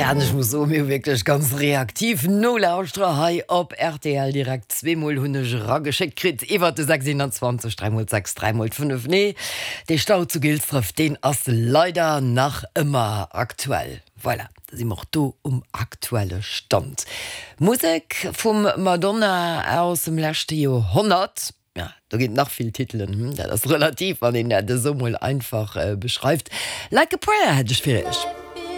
Tja, an ech muss soen, mir hu wierklech ganz reaktiv Nolauschterer hei op rtl. Direkt zweemol hunn ech erageschéckt kritt iwwert de 6 21 3 mol 6 3 mol 5. Nee, dee Stau zu Gilsdref, deen ass leider nach ëmmer aktuell. Voilà, da si mer och do um aktuelle Stand. Musek vum Madonna aus dem leschte Joerhonnert. Ja, do ginn et nach vill Titelen, hm, dat ass relativ, wann een dat esou mol einfach beschreift. Like a Prayer hätt ech fir iech.